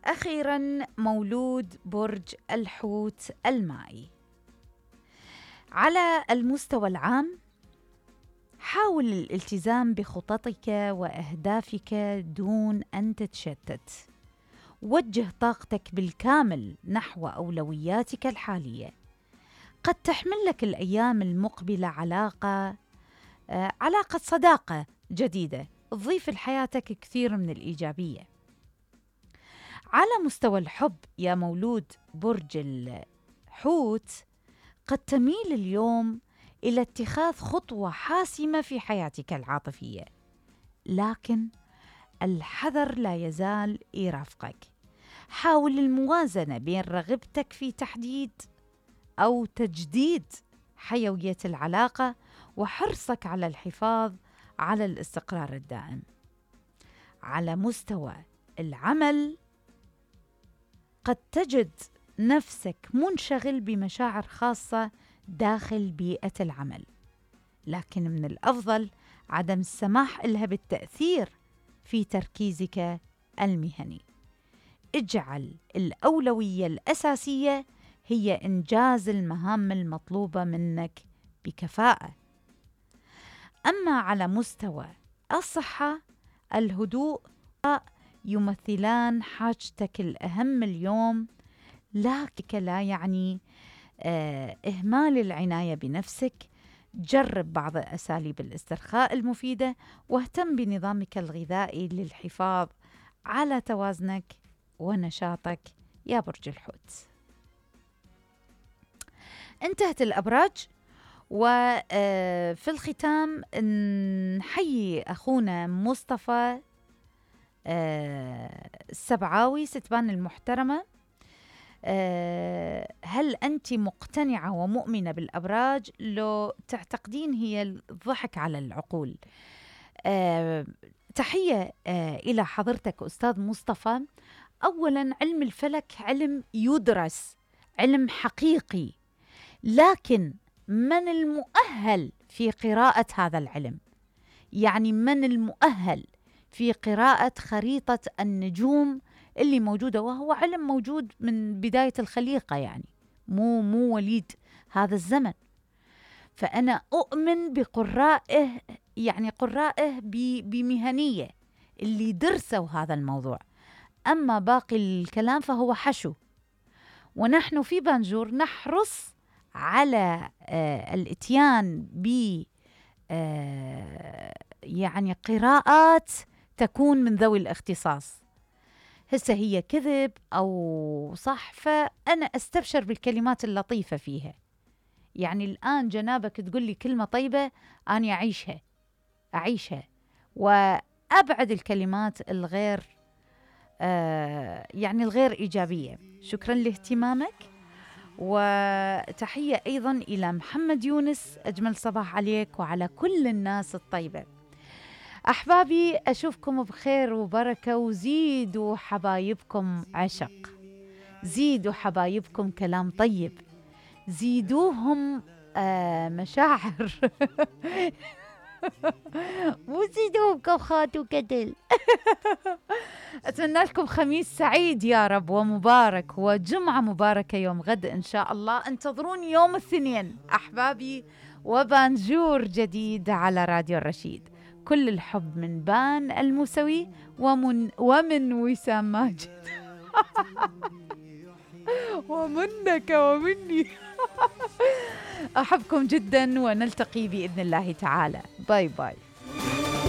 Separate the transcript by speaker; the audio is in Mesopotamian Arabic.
Speaker 1: أخيراً مولود برج الحوت المائي. على المستوى العام حاول الالتزام بخططك وأهدافك دون أن تتشتت. وجه طاقتك بالكامل نحو أولوياتك الحالية. قد تحمل لك الأيام المقبلة علاقة صداقة جديدة تضيف لحياتك كثير من الإيجابية. على مستوى الحب يا مولود برج الحوت، قد تميل اليوم إلى اتخاذ خطوة حاسمة في حياتك العاطفية، لكن الحذر لا يزال يرافقك. حاول الموازنة بين رغبتك في تحديد أو تجديد حيوية العلاقة وحرصك على الحفاظ على الاستقرار الدائم. على مستوى العمل، قد تجد نفسك منشغل بمشاعر خاصة داخل بيئة العمل، لكن من الأفضل عدم السماح لها بالتأثير في تركيزك المهني. اجعل الأولوية الأساسية هي إنجاز المهام المطلوبة منك بكفاءة. أما على مستوى الصحة، الهدوء يمثلان حاجتك الأهم اليوم، لكن لا يعني إهمال العناية بنفسك. جرب بعض أساليب الاسترخاء المفيدة، واهتم بنظامك الغذائي للحفاظ على توازنك ونشاطك يا برج الحوت. انتهت الأبراج، وفي الختام نحيي أخونا مصطفى السبعاوي ستبان المحترمة. هل أنت مقتنعة ومؤمنة بالأبراج لو تعتقدين هي الضحك على العقول؟ تحية إلى حضرتك أستاذ مصطفى. أولاً، علم الفلك علم يدرس، علم حقيقي، لكن من المؤهل في قراءة هذا العلم؟ يعني من المؤهل في قراءة خريطة النجوم اللي موجودة، وهو علم موجود من بداية الخليقة، يعني مو وليد هذا الزمن. فأنا أؤمن بقرائه، يعني قرائه بمهنية اللي درسوا هذا الموضوع. أما باقي الكلام فهو حشو، ونحن في بانجور نحرص على الاتيان ب يعني قراءات تكون من ذوي الاختصاص. هسه هي كذب أو صح، فأنا أستبشر بالكلمات اللطيفة فيها. يعني الآن جنابك تقول لي كلمة طيبة، أنا أعيشها وأبعد الكلمات الغير يعني الغير إيجابية. شكرا لاهتمامك، وتحية أيضا إلى محمد يونس. أجمل صباح عليك وعلى كل الناس الطيبة. أحبابي، أشوفكم بخير وبركة، وزيدوا حبايبكم عشق، زيدوا حبايبكم كلام طيب، زيدوهم مشاعر مو زيدوهم كوخات وكتل. أتمنى لكم خميس سعيد يا رب ومبارك، وجمعة مباركة يوم غد إن شاء الله. انتظروني يوم الاثنين أحبابي، وبانجور جديد على راديو الرشيد. كل الحب من بان الموسوي ومن وسام ماجد. ومنك ومني. أحبكم جدا، ونلتقي بإذن الله تعالى. باي باي.